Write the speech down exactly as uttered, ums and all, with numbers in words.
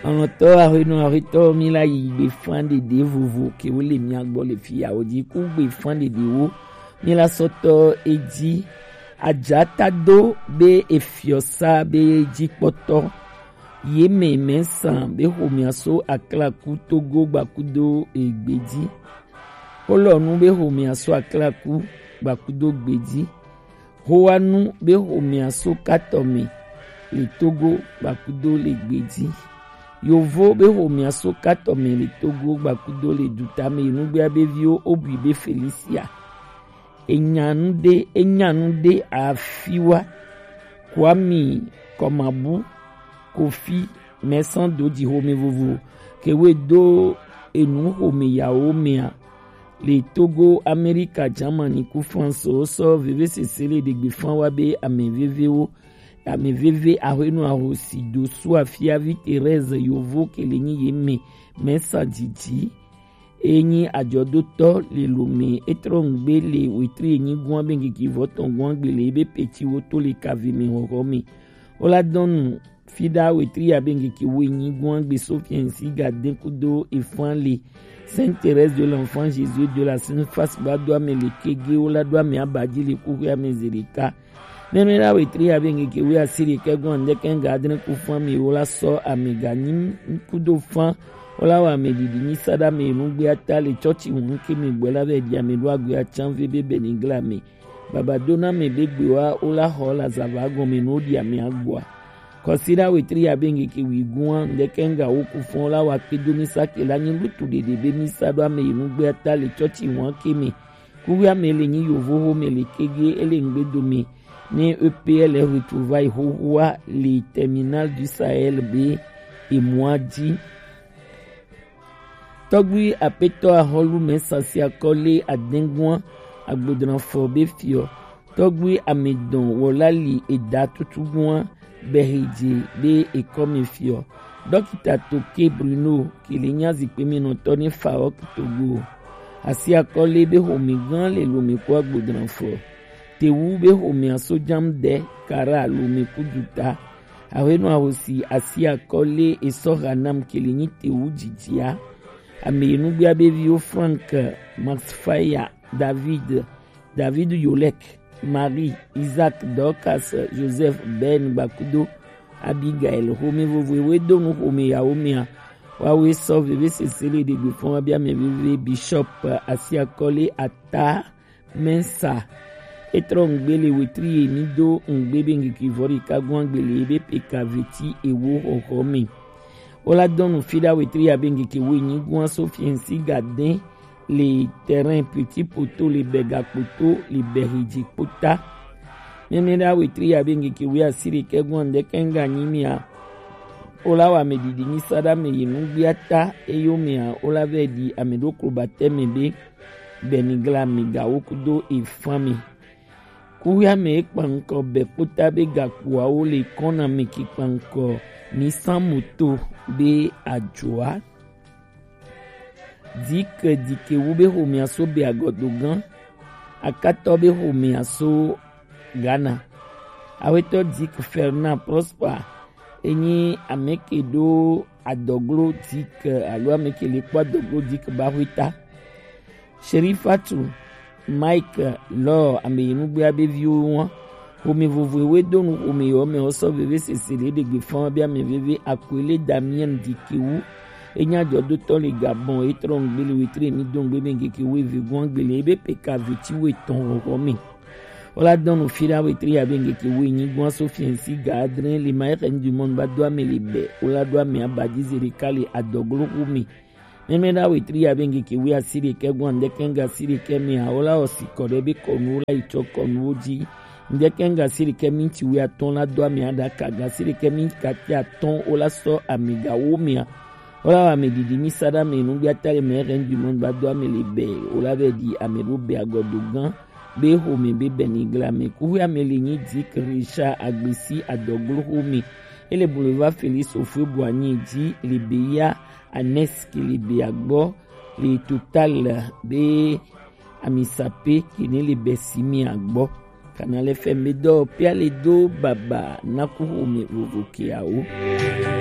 Alɔntɔ ahwenu ahwetɔ, mi la yi gbe fan ɖeɖe vovo ke wo le mia gbɔ le fi ya wo ji ku gbe fan ɖeɖe wo. Mi la sɔtɔ edzi adzata do be efiɔsa be dzi kpɔtɔ. Ye me mɛ san be xomia so aklaku Togo gbakudo egbe ji. Xolɔnu be xomia so aklaku gbakudo gbe ji. Howanu be xomea so katɔ me le Togo gbakudo le gbe ji. Yovo be xomea so katɔ me le Togo gbakudo le duta me. Nugbea be viwo obui be Felicia. Enyanu de enyanu de afiwa. Kwami Kɔmabu Kofi mɛsɔn do ji xome vovo ke we do enu xome yawo mea. Le Togo, Amerika, Jamani ku France wo sɔ veve sese le ɖegbe fan wa be ame vevewo, ame veve ahwenu ahosi do su afiavi Thérèse yovo ke le nyi ye me mɛsa didi. Enyi ajɔdotɔ le lome etrɔ ngbe le wetri enyi gwan be ngeki vɔtɔn gwan gbe le ebe peti wo to le kave me hɔhɔ me. Wo la dɔnu Fida wetri abe ngeke wo enyi gwan gbe Sofiɛn si ga den kudo efan le Sainte Thérèse de l'Enfant Jésus de la Sainte Face ba do ame le kege wo la do ame aba ji le kuxwe ame zereka. Nenu la wetri abe ngeke wo asiri ke gwan ndeke nga adren ku fan mi wo la sɔ ame ga nyi kudo fan wo la wa ame didi nyi sada me nugbe ata le chɔchi won ke me gbɔ la be di ame do agbe achan ve be benigla me. Baba dona me be gbe wa wo la xɔ la zava gɔme no di ame agboa. Kɔsiɖa wetri ya be ŋkeke wigun a ŋdɛkɛ ŋga wo ku fɔn la wa kpedo mi sa ke la nyi lutu ɖeɖe be mi sa ɖo ame yi nugbe ata le tsɔtsi wan ke me. Kuvi ame le nyi yovo ho me le kege ele ŋgbe dome ne E P L retrouvailles xoxoa le terminal du Sahel be emɔa dzi. Tɔgbui apetɔ ahɔlu mɛ sasiakɔ le adɛngua agbodranfɔ be fiɔ. Tɔgbui amedɔn wɔla li eda tutugua bɛhedze be ekɔme fiɔ. Dɔkita Toke Bruno kele nya zikpeminɔtɔ ne Faok Togo. Asiakɔ le be xomegã le lome kpo agbodranfɔ. Tewu be xomea sojam de kara lome kuduta. Ahwenu ahosi asiakɔ le esɔ hanam kele nyi tewu dzidzia. Ame yi nugbea be viwo Frank, Max Faya, David, David Yolek, Marie, Isaac, Dorcas, Joseph, Ben Gbakudo, Abigail, xome vovoewo do nu xome yawo mea. Wawoe sɔ veve sese le ɖegbe fɔn wa be ame veve Bishop asiakɔ le ata Mensa. Etrɔ ŋgbe le wetri ye mi do ŋgbe be ŋkeke vɔ ɖeka gɔn agbe le ebe peka veti ewo xɔxɔ me. Wola dɔnu fi ɖa wetri ya be ŋkeke wo enyi gɔn aso fiɛnsi ga dɛn le terrain Petit Poto le bɛ gakpoto le bɛ hedzi kpota. Mɛmɛ ɖa wetri ya be ŋkeke wo asi ɖekɛ gɔn ŋdɛkɛ ŋga nyi mia. Wola wa ame ɖiɖi nyi sa ɖa me yi nugbia ta eyo mea wola vɛ ɖi ame ɖo klo batɛ me be Benigla mi gawo kudo efan mi. Kuya me ekpankɔ be kpota be gakpoawo le kɔna me ki kpankɔ mi san moto be ajoa. Dike dike wu be xomea so be agɔdogan. Akatɔ be xomea so Ghana. Awetɔ Dike Fernand Prosper enyi ame ke ɖo adɔglo Dike alo ame ke le kpɔ adɔglo Dike ba xweta. Sherifatu, Mike, Lɔ, ame yi nugbea be viwo wa. Xome vovoewo do nu xome yɔ me wosɔ veve sese ɖe ɖegbe fɔn be ame veve Akwele Damien Dikewu. Enya jɔdotɔ le Gabon etrɔ ŋgbe le wetre mi do ŋgbe be ŋkeke wo eve gɔn ŋgbe le ebe peka veti wo etɔn xɔxɔ me. Wola dɔnu fi ɖa wetri ya be ŋkeke wo enyi gɔn aso fiɛnsi ga adre le ma exe du monde ba do ame le bɛ wola do ame abadi zereka le adɔglo xome. Mɛmɛ ɖa wetri ya be ŋkeke wo asi ɖekɛ gɔn ŋdɛkɛ ŋga asi ɖekɛ mea wola osi kɔ ɖe be kɔnuwo la yi tsɔ kɔnuwo dzi. Ŋdɛkɛ ŋga asi ɖekɛ minti wo atɔn la do ame aɖaka ga asi ɖekɛ minti kati atɔn wola sɔ ame gawo mea. Wola wa ame ɖiɖi mi sa ɖa ame nugbia ta le ma exe du monde ba do ame le bɛ wola vɛ ɖi ame ɖo be agɔdogan be xome be Benigla me. Kuxwe ame le nyi Dike Richard Agbesi adɔglo xome. Ele boulevard Félix Houphouët-Boigny dzi le be ya Anes ke le be agbɔ le Total be amisape ke ne le be simi agbɔ. Kana le fɛ me dɔ pia le do baba na ku xome vovo ke awo.